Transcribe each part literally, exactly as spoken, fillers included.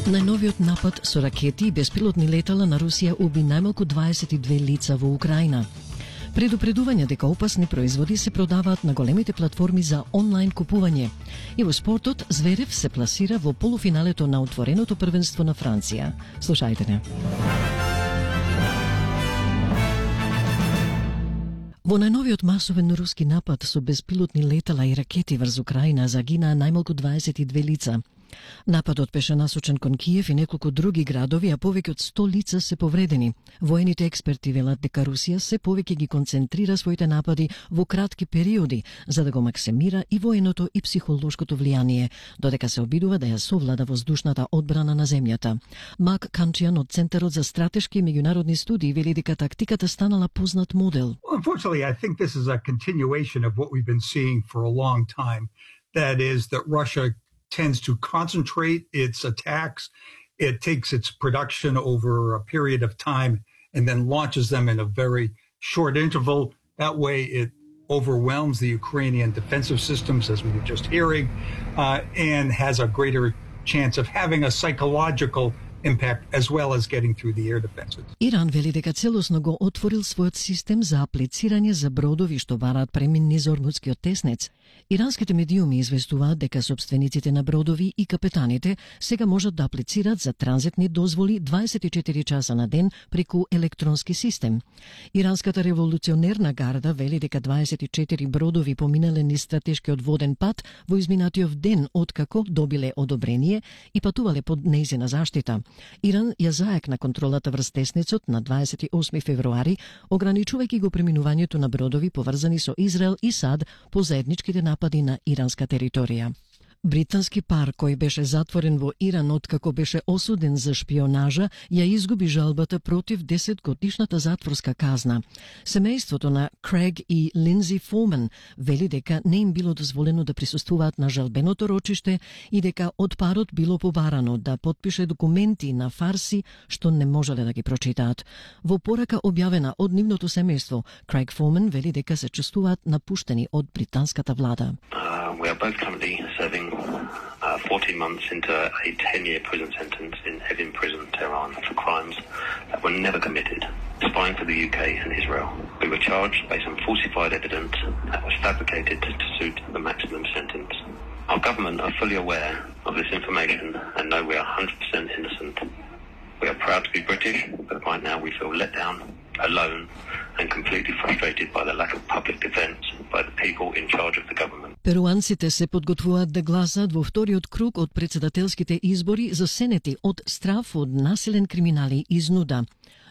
Најновиот напад со ракети и беспилотни летала на Русија уби најмалку дваесет и две лица во Украина. Предупредување дека опасни производи се продаваат на големите платформи за онлайн купување. И во спортот Зверев се пласира во полуфиналето на отвореното првенство на Франција. Слушајте не. Во најновиот масовен руски напад со беспилотни летала и ракети врз Украина загинаа најмалку дваесет и две лица. Нападот беше насочен кон Киев и неколку други градови, а повеќе од сто лица се повредени. Воените експерти велат дека Русија се повеќе ги концентрира своите напади во кратки периоди, за да го максимира и военото и психолошкото влијание, додека се обидува да ја совлада воздушната одбрана на земјата. Мак Канчијан од Центарот за стратешки и меѓународни студии вели дека тактиката станала познат модел. Well, unfortunately, I think this is a continuation of what we've been seeing for a long time. That is that Russia tends to concentrate its attacks. It takes its production over a period of time and then launches them in a very short interval. That way it overwhelms the Ukrainian defensive systems, as we were just hearing, uh, and has a greater chance of having a psychological impact as well as getting through the air defenses. Иран вели дека целосно го отворил својот систем за аплицирање за бродови што бараат премин низ Ормудскиот теснец. Иранските медиуми известуваат дека собствениците на бродови и капетаните сега можат да аплицираат за транзитни дозволи дваесет и четири часа на ден преку електронски систем. Иранската револуционерна гарда вели дека дваесет и четири бродови поминале низ стратешкиот воден пат во изминатиот ден откако добиле одобрение и патувале под нејзина заштита. Иран ја заекна контролата врз теснецот на дваесет и осми февруари, ограничувајќи го преминувањето на бродови поврзани со Израел и САД по заедничките напади на иранска територија. Британски пар кој беше затворен во Иран откако беше осуден за шпионажа, ја изгуби жалбата против десетгодишната затворска казна. Семејството на Крейг и Линдзи Форман вели дека не им било дозволено да присуствуваат на жалбеното рочиште и дека од парот било побарано да потпише документи на фарси што не можеле да ги прочитаат. Во порака објавена од нивното семејство, Крейг Форман вели дека се чувствуваат напуштени од британската влада. Uh, we are both currently serving uh, fourteen months into a ten-year prison sentence in Evin Prison, Tehran, for crimes that were never committed, spying for the U K and Israel. We were charged based on falsified evidence that was fabricated to suit the maximum sentence. Our government are fully aware of this information and know we are one hundred percent innocent. We are proud to be British, but right now we feel let down, alone, and completely frustrated by the lack of public defence by the people in charge of the government. Перуанците се подготвуваат да гласаат во вториот круг од председателските избори за сенети од страф од насилен криминал и изнуда.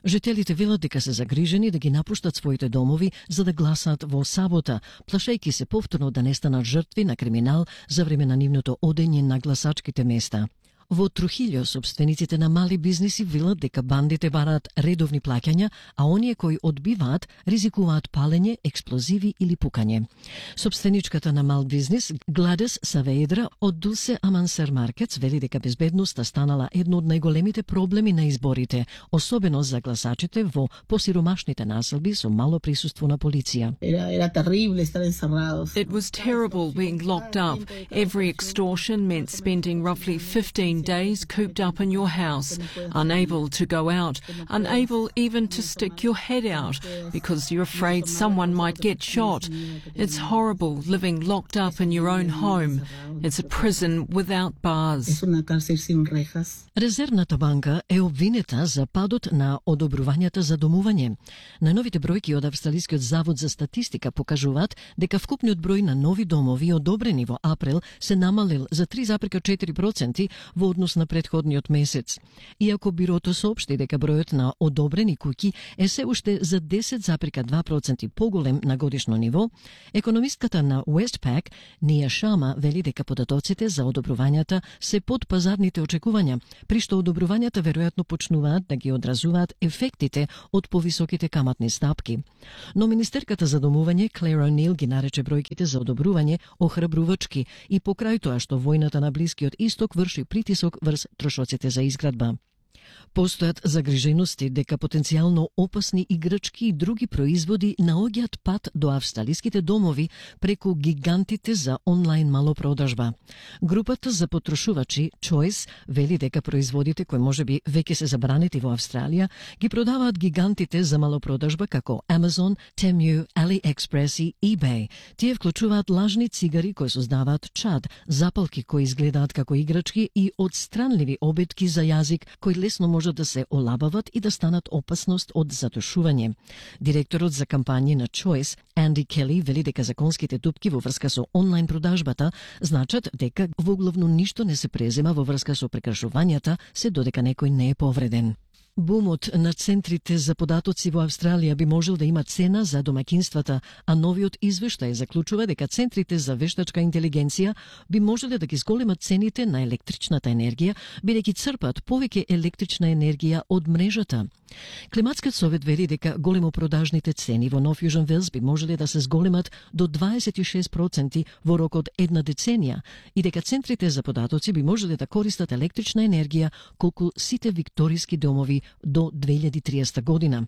Жителите велат дека се загрижени да ги напуштат своите домови за да гласаат во сабота, плашејќи се повторно да не станат жртви на криминал за време на нивното одење на гласачките места. Во Трухилјо собствениците на мали бизниси велат дека бандите бараат редовни плаќања, а оние кои одбиваат ризикуваат палење, експлозиви или пукање. Собственичката на мал бизнис Гладес Савеидра од Дулсе Амансер Маркетс вели дека безбедноста станала едно од најголемите проблеми на изборите, особено за гласачите во посиромашните населби со мало присуство на полиција. It was terrible being locked up. Every extortion meant spending roughly fifteen days cooped up in your house, unable to go out, unable even to stick your head out because you're afraid someone might get shot. It's horrible living locked up in your own home. It's a prison without bars. Резервната банка е обвинета за падот на одобрувањата за домување. Најновите бројки од Австралискиот завод за статистика покажуваат дека вкупниот број на нови домови одобрени во април се намалил за три зарез четири проценти во однос на претходниот месец. Иако бирото соопшти дека бројот на одобрени куќи е се уште за десет зарез два проценти поголем на годишно ниво, економистката на Westpac, Ния Шама, вели дека податоците за одобрувањата се под пазарните очекувања, при што одобрувањата веројатно почнуваат да ги одразуваат ефектите од повисоките каматни стапки. Но министерката за домување Клер О'Нил ги нарече бројките за одобрување охрабрувачки и покрај тоа што војната на Блискиот Исток врши притисок врз трошоците за изградба. Постојат загрижености дека потенцијално опасни играчки и други производи наоѓаат пат до австралиските домови преку гигантите за онлайн малопродажба. Групата за потрошувачи Choice вели дека производите кои можеби веќе се забранети во Австралија ги продаваат гигантите за малопродажба како Amazon, Temu, AliExpress и eBay. Тие вклучуваат лажни цигари кои создаваат чад, запалки кои изгледаат како играчки и одстранливи обетки за јазик кои лесно може да се олабават и да станат опасност од задушување. Директорот за кампањи на Choice, Анди Кели, вели дека законските тупки во врска со онлайн продажбата значат дека воглавно ништо не се презема во врска со прекршувањата, се додека некој не е повреден. Бумот на центрите за податоци во Австралија би можел да има цена за домаќинствата, а новиот извештај заклучува дека центрите за вештачка интелигенција би можеле да ги зголемат цените на електричната енергија, бидејќи црпат повеќе електрична енергија од мрежата. Климатскиот совет вели дека големопродажните цени во Нов Јужен Велс би можеле да се зголемат до дваесет и шест проценти во рок од една деценија и дека центрите за податоци би можеле да користат електрична енергија колку сите викториски домови до две илјади и триесета година.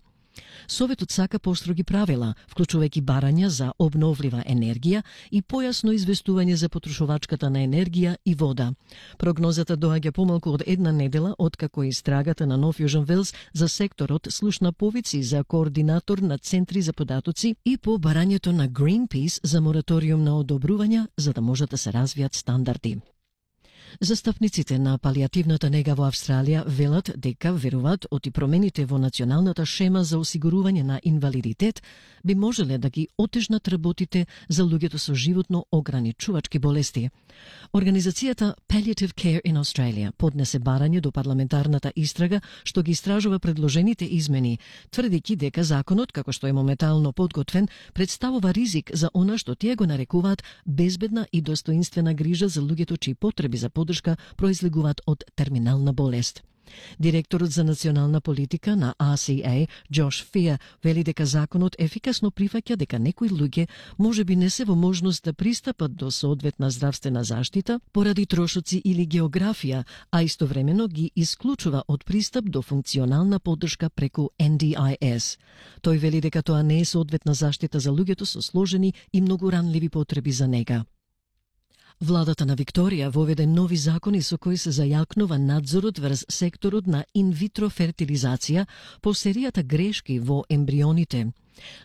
Советот сака построги правила, вклучувајќи барања за обновлива енергија и појасно известување за потрошувачката на енергија и вода. Прогнозата доаѓа помалку од една недела откако истрагата на Нов Јужен Велс за секторот слушна повици за координатор на центри за податоци и по барањето на Greenpeace за мораториум на одобрувања за да можат да се развијат стандарди. Застапниците на палијативната нега во Австралија велат дека веруваат оти промените во националната шема за осигурување на инвалидитет би можеле да ги отежнат работите за луѓето со животно ограничувачки болести. Организацијата Palliative Care in Australia поднесе барање до парламентарната истрага што ги истражува предложените измени, тврдејќи дека законот, како што е моментално подготвен, представува ризик за она што тие го нарекуваат безбедна и достоинствена грижа за луѓето чии потреби за поддршка произлегуваат од терминална болест. Директорот за национална политика на А Си Ей, Джош Фиа, вели дека законот ефикасно прифаќа дека некои луѓе можеби не се во можност да пристапат до соодветна здравствена заштита поради трошоци или географија, а истовремено ги исклучува од пристап до функционална поддршка преку Ен Ди Ај Ес. Тој вели дека тоа не е соодветна заштита за луѓето со сложени и многу ранливи потреби за нега. Владата на Викторија воведе нови закони со кои се зајакнува надзорот врз секторот на инвитро фертилизација по серијата грешки во ембрионите.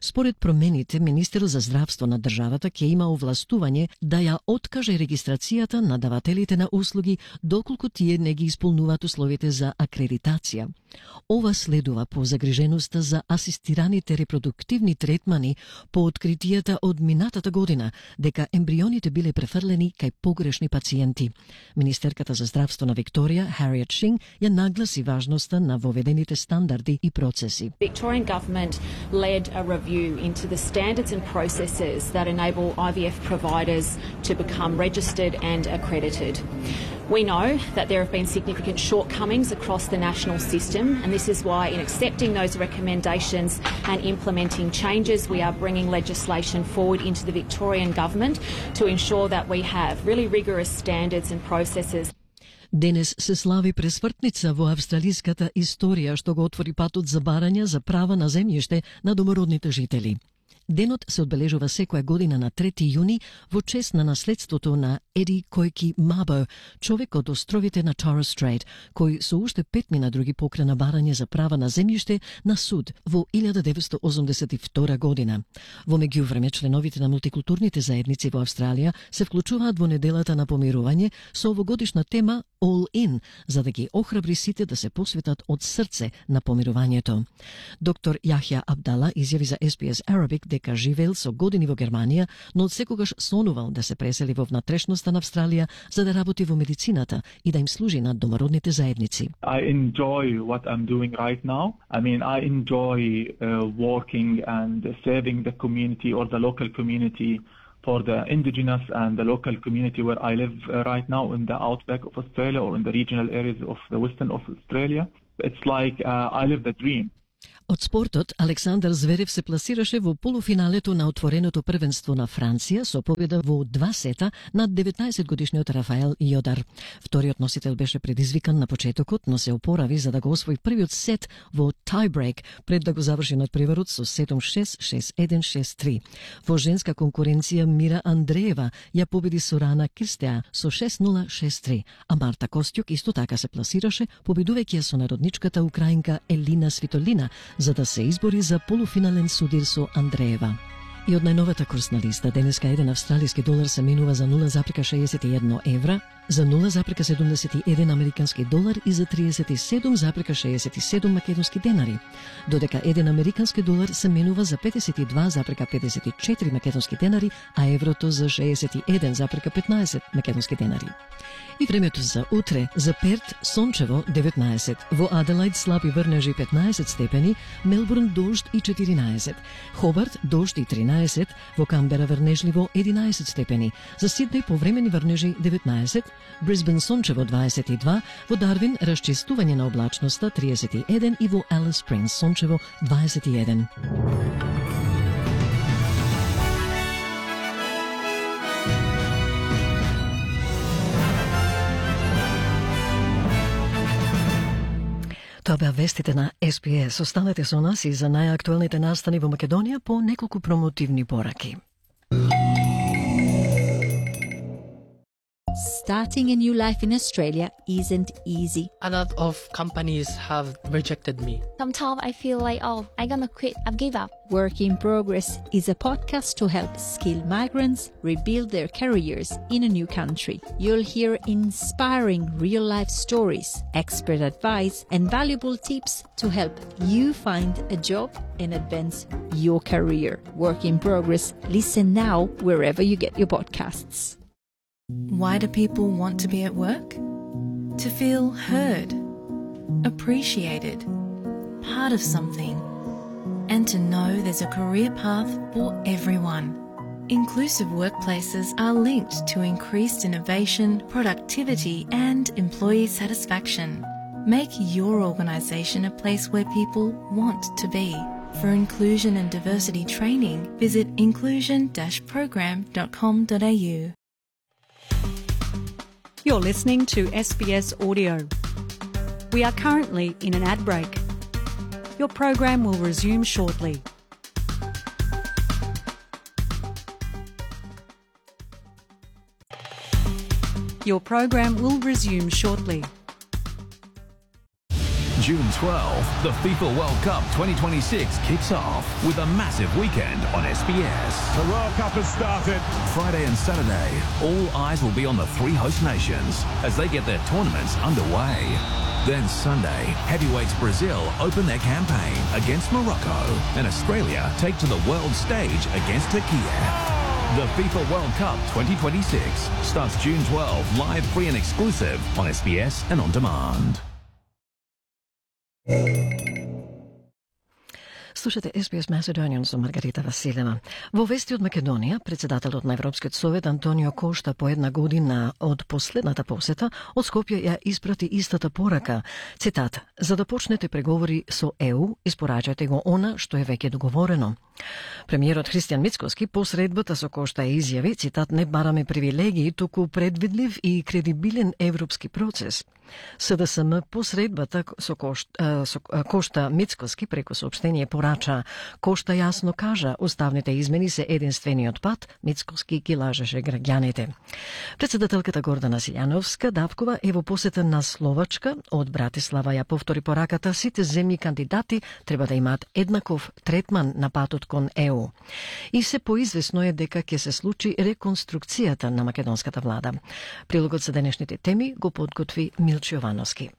Според промените, Министерот за здравство на државата ќе има овластување да ја откаже регистрацијата на давателите на услуги доколку тие не ги исполнуваат условите за акредитација. Ова следува по загриженоста за асистираните репродуктивни третмани по откритијата од минатата година дека ембрионите биле префрлени кај погрешни пациенти. Министерката за здравство на Викторија, Хариет Шинг, ја нагласи важноста на воведените стандарди и процеси. Victorian government led a review into the standards and processes that enable I V F providers to become registered and accredited. We know that there have been significant shortcomings across the national system, and this is why in accepting those recommendations and implementing changes, we are bringing legislation forward into the Victorian government to ensure that we have really rigorous standards and processes. Денес се слави пресвртница во австралиската историја што го отвори патот за барања за права на земјиште на домородните жители. Денот се одбележува секоја година на трети јуни во чест на наследството на Еди Којки Мабо, човек од островите на Торres Strait, кој со уште петмина други покрена барање за права на земјиште на суд во илјада деветстотини осумдесет и втора година. Во меѓувреме, членовите на мултикултурните заедници во Австралија се вклучуваат во неделата на помирување со овогодишна тема All In, за да ги охрабри сите да се посветат од срце на помирувањето. Доктор Јахја Абдала изјави за Ес Би Ес Arabic дека живеел со години во Германија, но одсекогаш сонувал да се пресели во внатрешноста на Австралија за да работи во медицината и да им служи на домородните заедници. I enjoy what I'm doing right now. I mean, I enjoy uh, working and serving the community or the local community for the indigenous and the local community where I live uh, right now in the outback of Australia or in the regional areas of the western of Australia. It's like uh, I live the dream. Од спортот, Александар Зверев се пласираше во полуфиналето на отвореното првенство на Франција со победа во два сета над деветнаесетгодишниот Рафаел Јодар. Вториот носител беше предизвикан на почетокот, но се опорави за да го освои првиот сет во тајбрейк пред да го заврши надпреварот со седум шест, шест еден, шест три. Во женска конкуренција Мира Андреева ја победи Сорана Кирстеа со шест нула, шест три, а Марта Костјук исто така се пласираше, победувајќи ја со народничката украинка Елина Свитолина, за да се избори за полуфинален судир со Андреева. И од најновата курсна листа, денеска еден австралиски долар се менува за нула зарез шеесет и едно евра, за нула зарез седумдесет и еден американски долар и за триесет и седум зарез шеесет и седум македонски денари, додека еден американски долар се менува за петдесет и два зарез петдесет и четири македонски денари, а еврото за шеесет и еден зарез петнаесет македонски денари. И времето за утре: за Перт сончево деветнаесет, во Аделајд слаби врнежи петнаесет степени, Мелбурн дожд и четиринаесет, Хобарт дожд и тринаесет, во Камбера врнежливо единаесет степени, за Сиднеј повремени врнежи деветнаесет, Брисбен сончево дваесет и два, во Дарвин расчистување на облачноста триесет и еден и во Алис Спрингс сончево дваесет и еден. Тоа беа вестите на Ес Би Ес. Останете со нас и за најактуелните настани во Македонија по неколку промотивни пораки. Starting a new life in Australia isn't easy. A lot of companies have rejected me. Sometimes I feel like, oh, I'm gonna quit, I've give up. Work in Progress is a podcast to help skilled migrants rebuild their careers in a new country. You'll hear inspiring real-life stories, expert advice, and valuable tips to help you find a job and advance your career. Work in Progress. Listen now wherever you get your podcasts. Why do people want to be at work? To feel heard, appreciated, part of something, and to know there's a career path for everyone. Inclusive workplaces are linked to increased innovation, productivity, and employee satisfaction. Make your organisation a place where people want to be. For inclusion and diversity training, visit inclusion dash program dot com dot a u. You're listening to S B S Audio. We are currently in an ad break. Your program will resume shortly. Your program will resume shortly. June twelfth, the FIFA World Cup twenty twenty-six kicks off with a massive weekend on S B S. The World Cup has started. Friday and Saturday, all eyes will be on the three host nations as they get their tournaments underway. Then Sunday, heavyweights Brazil open their campaign against Morocco, and Australia take to the world stage against Turkey. The FIFA World Cup twenty twenty-six starts June twelfth, live, free and exclusive on S B S and on demand. Слушате Ес Би Ес Macedonian со Маргарита Василева. Во вести од Македонија, председателот на Европскиот совет Антонио Кошта по една година од последната посета од Скопје ја испрати истата порака. Цитат: "За да почнете преговори со Е У, испорачајте го она што е веќе договорено." Премиерот Христијан Мицкоски по средбата со Кошта изјави, цитат: "Не бараме привилегии, туку предвидлив и кредибилен европски процес." С Д С М по средбата со Кошта, со Кошта Мицкоски преку соопштение порача: "Кошта јасно кажа, уставните измени се единствениот пат." Мицкоски ги лажеше граѓаните. Председателката Гордана Силјановска давкова е во посета на Словачка. Од Братислава ја повтори пораката: сите земји кандидати треба да имаат еднаков третман на патот кон Е У. И се поизвестно е дека ќе се случи реконструкцијата на македонската влада. Прилогот за денешните теми го подготви Милчо Јовановски.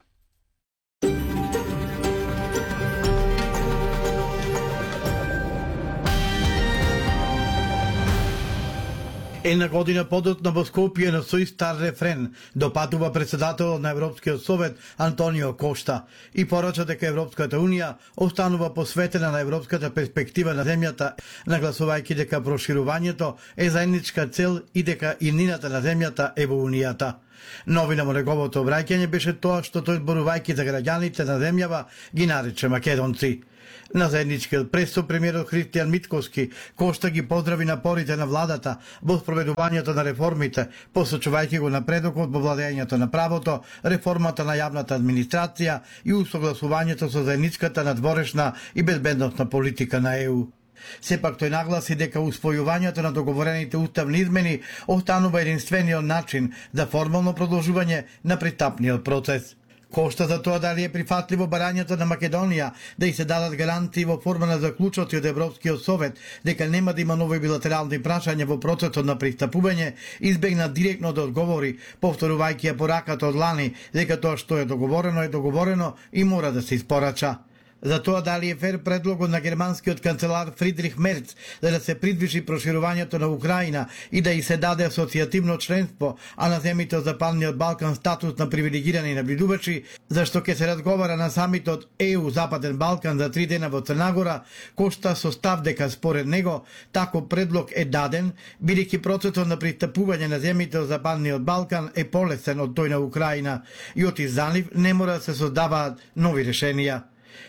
Една година подоцна во Скопје на сој стар рефрен допатува председателот на Европскиот совет Антонио Кошта и порача дека Европската унија останува посветена на европската перспектива на земјата, нагласувајќи дека проширувањето е заедничка цел и дека иднината на земјата е во унијата. Новина во неговото обраќање беше тоа што тој зборувајќи за граѓаните на земјава ги нарече македонци. На заедничкиот пресо премиерот Христијан Митковски Кошта ги поздрави напорите на владата во спроведувањето на реформите, посочувајќи го напредокот во владењето на правото, реформата на јавната администрација и усогласувањето со заедничката надворешна и безбедносна политика на Е У. Сепак тој нагласи дека усвојувањето на договорените уставни измени останува единствениот начин за формално продолжување на пристапниот процес. Кошта за тоа дали е прифатливо барањето на Македонија да и се дадат гарантии во форма на заклучоци од Европскиот совет дека нема да има нови билатерални прашања во процесот на пристапување, избегна директно да одговори, повторувајќи ја пораката од лани дека тоа што е договорено е договорено и мора да се испорача. За тоа дали е фер предлогот на германскиот канцелар Фридрих Мерц за да се придвижи проширувањето на Украина и да и се даде асоцијативно членство, а на земите од Западниот Балкан статус на привилегирани набљудувачи, зашто ќе се разговара на самитот Е У Западен Балкан за три дена во Црнагора, Кошта со став дека според него таков предлог е даден, бидејќи процесот на пристапување на земите од Западниот Балкан е полесен од тој на Украина и од за нив не мора да се создаваат нови решенија.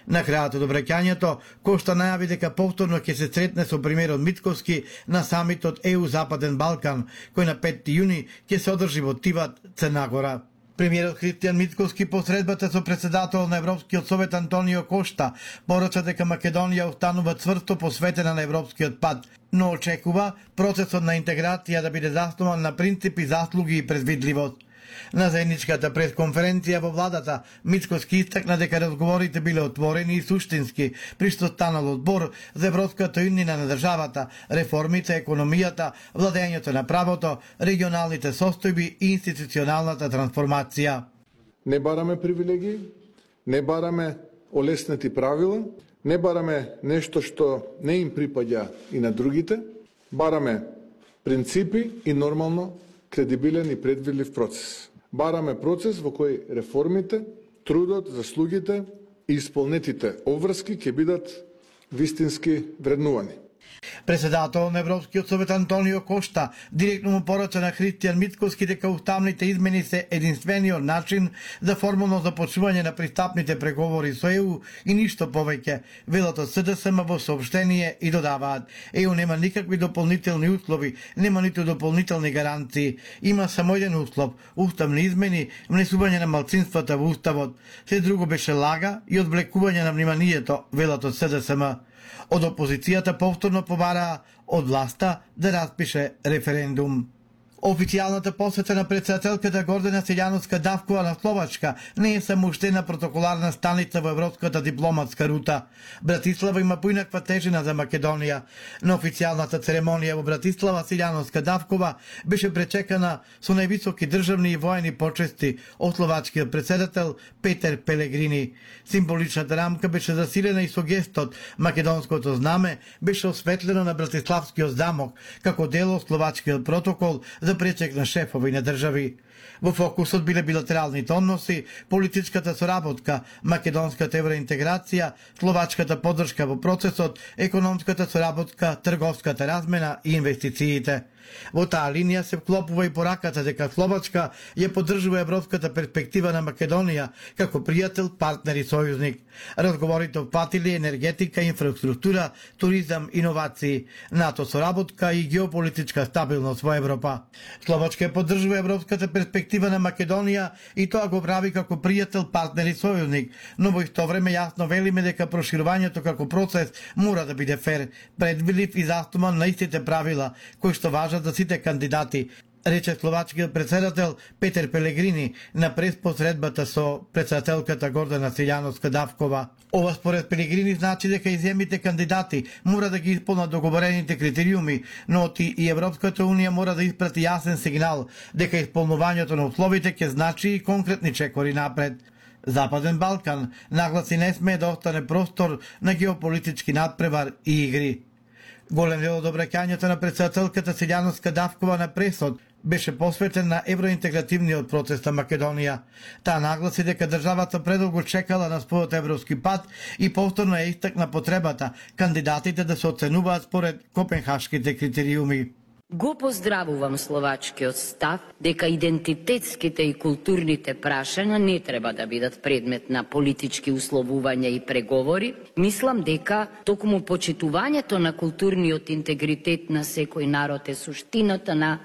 На крајот од обраќањето, Кошта најави дека повторно ќе се сретне со премиерот Митковски на самитот Е У Западен Балкан, кој на петти јуни ќе се одржи во Тиват, Црнагора. Премиерот Христијан Митковски по средбата со претседател на Европскиот совет Антонио Кошта порача дека Македонија останува цврсто посветена на европскиот пат, но очекува процесот на интеграција да биде заснован на принципи, заслуги и предвидливост. На заедничката пресконференција во владата, Митковски истакна дека разговорите биле отворени и суштински, при што станал одбор за европската иднина на државата, реформите, економијата, владењето на правото, регионалните состојби и институционалната трансформација. Не бараме привилегии, не бараме олеснети правила, не бараме нешто што не им припаѓа и на другите, бараме принципи и нормално кредибилен и предвидлив процес. Бараме процес во кој реформите, трудот, заслугите и исполнетите обврски ќе бидат вистински вреднувани. Председател на Европскиот совет Антонио Кошта директно му порача на Христијан Митковски дека уставните измени се единствениот начин за формално започнување на пристапните преговори со Е У и ништо повеќе, велат од С Д С М во соопштение и додаваат: Е У нема никакви дополнителни услови, нема ниту дополнителни гаранции, има само еден услов – уставни измени, внесување на малцинствата во уставот. Се друго беше лага и одвлекување на вниманието, велат од С Д С М. Од опозицијата повторно побараа од власта да распише референдум. Официјалната посета на претседателката Гордана Силјановска-Давкова на Словачка не е само уште една протоколарна станица во европската дипломатска рута. Братислава има поинаква тежина за Македонија. На официјалната церемонија во Братислава Силјановска-Давкова беше пречекана со највисоки државни и воени почести од словачкиот претседател Петер Пелегрини. Символичната рамка беше засилена и со гестот македонското знаме беше осветлено на Братиславскиот замок како дел од словачкиот протокол за пречек на шефови на држави. Во фокусот биле билатералните односи, политичката соработка, македонската евроинтеграција, словачката поддршка во процесот, економската соработка, трговската размена и инвестициите. Во таа линија се вклопува и пораката дека Словачка ја поддржува европската перспектива на Македонија како пријател, партнер и сојузник. Разговорите опфатиле енергетика, инфраструктура, туризам, иновации, НАТО соработка и геополитичка стабилност во Европа. Словачка ја поддржува европската перспектива на Македонија и тоа го прави како пријател, партнер и сојузник, но во исто време јасно велиме дека проширувањето како процес мора да биде фер, предвидлив и заснуван на истите правила кои што важат за сите кандидати, рече словачкиот претседател Петер Пелегрини на преспосредбата со претседателката Гордана Силјановска-Давкова. Ова според Пелегрини значи дека и земите кандидати мора да ги исполнат договорените критериуми, но и Европската Унија мора да испрати јасен сигнал дека исполнувањето на условите ќе значи и конкретни чекори напред. Западен Балкан нагласи не смее да остане простор на геополитички надпревар и игри. Голем дел од обраќањето на претседателката Силјановска-Давкова на пресот беше посветен на евроинтегративниот процес на Македонија. Таа нагласи дека државата предолго чекала на својот европски пат и повторно ја истакна потребата кандидатите да се оценуваат според копенхашките критериуми. Го поздравувам словачкиот став дека идентитетските и културните прашања не треба да бидат предмет на политички условувања и преговори. Мислам дека токму почитувањето на културниот интегритет на секој народ е суштината на